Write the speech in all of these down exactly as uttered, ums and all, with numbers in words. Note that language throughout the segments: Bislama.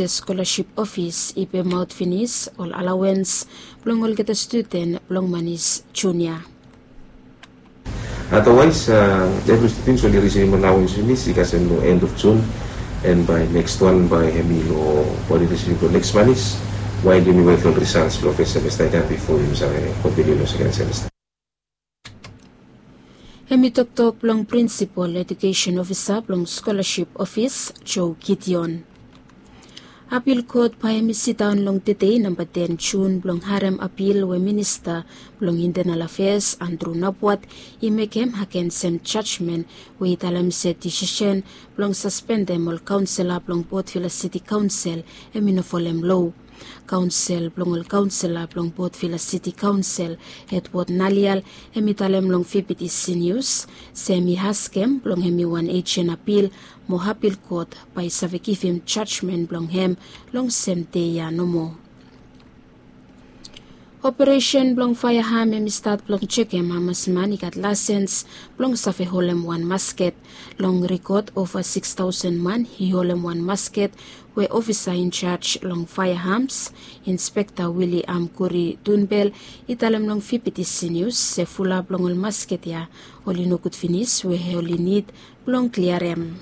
Scholarship Office i pemaot finis ol allowance blong olgeta studen blong Manis Junior. Otherwise, uh, every students oli receiving allowance finis i kasem long end of June, and by next one by hemi long body receiving long next Manis, while yumi wait long results long first semester again before yumi save continue long second semester. Hemi toktok blong Principal Education Officer blong Scholarship Office, Joe Gideon. Apil kot bae hemi sidaon long tedei namba ten Jun blong harem apil we Minista blong Internal Affairs Andrew Napuat i mekem agensem jajmen we i talem se disisen blong saspendem ol kaonsela blong Port Vila City Kaonsel hemi no folem loa. Kaonsel blong ol kaonsela blong Port Vila City Kaonsel, Edward Nalial, hemi talem long V B T C News se hemi askem blong hemi wan ejen apil mo apil kot bae i save givim jajmen blong hem long sem dei ya nomo. Operesen blong faeaham hemi stat blong jekem hamas man i gat laesens blong save holem wan masket. Long rikot ova sikis taosen man i holem wan masket we ofisa injaj long faeahams, Inspekta William Kuri Dunbel, i talem long V B T C News se fulap long ol masket ya oli nogud finis we oli nid blong kliarem.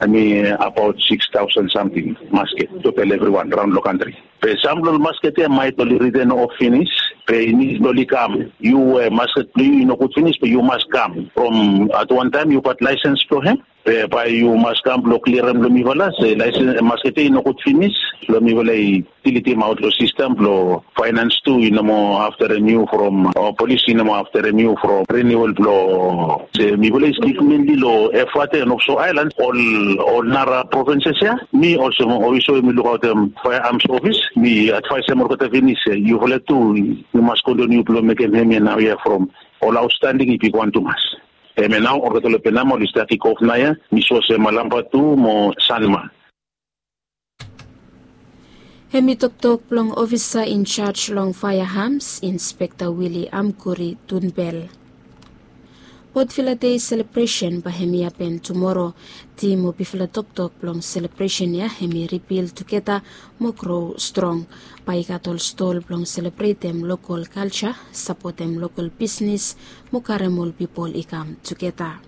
Hemi abaot sikis taosen samting masket total evriwan raon long kantri. Be sam blong ol masket ya maet oli riten of finis, be i nid blong oli kam. Yu we masket blong yu i nogud finis be yu mas kam from at wan taem yu gat laesens blong hem. Be bae yu mas kam blong kliarem long mifala se laesens masket ya i nogud finis. Long mifala i dilitimaot long sistem blong faenans tu i no moa aftarem yu from, o polis i no moa aftarem yu from riniual blong. Se mifala i stik menli long Efate and Oxo Aelan, ol ol nara provinses ya. Mi olsem ofiso we mi lukaotem faearms ofis, mi advaesem olgeta finis se yufala tu yu mas kontiniu blong mekem hemia naoia from ol aotstanding i bigwan tumas. Hemia nao olgeta long Penama oli stat i go of naoia, mi sua se Malampa tu mo Sanma. Hemi toktok blong ofisa injaj long faearms, Inspekta William Kuri Dunbel. Port Vila Dei selebresen bae hemi hapen tumoro. Tim o bifala toktok blong selebresen ya hemi Rebuild Together mo Grow Strong. Bae i gat ol stol blong selebretem lokol kalja, sapotem lokol bisnis mo karem ol pipol i kam tugeta.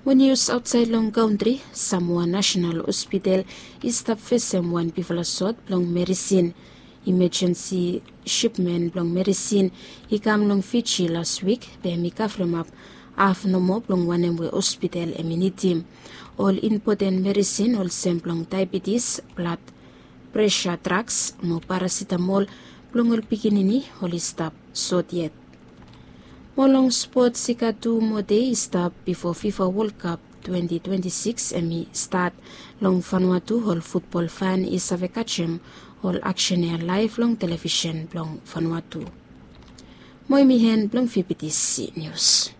Mo nius aotsaed long kantri, Samoa National Hospital i stap fesem wan bigfala sot blong medisin. Imajensi sipmen blong medisin i kam long Fiji las wik, be hemi kavremap haf nomo blong wanem we hospital hemi nidim. Ol impoten medisin olsem blong daebetis, blad presa, draks mo parasitamol blong ol pikinini oli stap sot yet. Mo long spots, i gat tu moa dei i stap bifo FIFA World Cup twenti twenti sikis hemi stat. Long Vanuatu ol futbol fan i save kajem ol aksen ya laev long televisen blong Vanuatu. Mo hemi en blong V B T C Nius.